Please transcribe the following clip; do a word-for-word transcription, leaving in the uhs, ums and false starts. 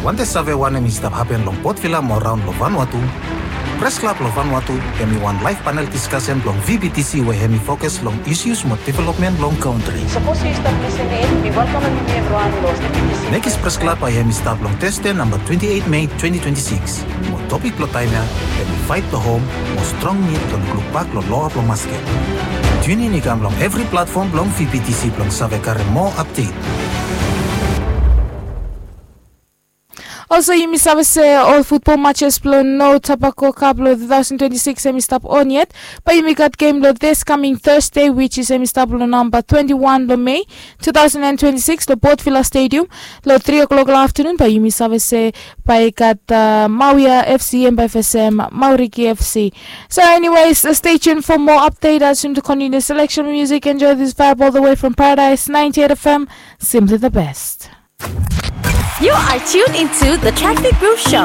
Wante save wanem i stap hapen long Port Vila mo raon long Vanuatu? Pres Klab long Vanuatu hem i wan laef panel diskasen blong V B T C we hem i fokus long isus mo developmen blong kantri. Sapos yu stap lisin in, mi welkamem yumi evriwan long V B T C. Nekis Pres Klab bae hem i stap long Tesde namba twenti eit Mei twenti twenti sikis. Mo topik blong taem ya hem i faet blong hom mo strong nid blong lukluk bak long loa blong masket. Tiunin i kam long evri platfom blong V B T C blong save karem moa apdet. Olsem yumi save se ol futbol matches blong No Tobacco Cup blong two thousand twenty-six hem i stap on yet. Bae yumi gat gem blong this coming Thursday, which is hem i stap long namba twenty-one blong Mei two thousand and twenty-six long Port Vila Stadium. Long three o'clock long afternoon bae yumi save se bae i gat uh, Mawia F C hem bae fesem Mauriki F C. So anyways, uh, stay tuned for more update as soon to continue selection music. Enjoy this vibe all the way from Paradise ninety-eight F M. Simply the best. You are tuned into the Traffic Groove Show.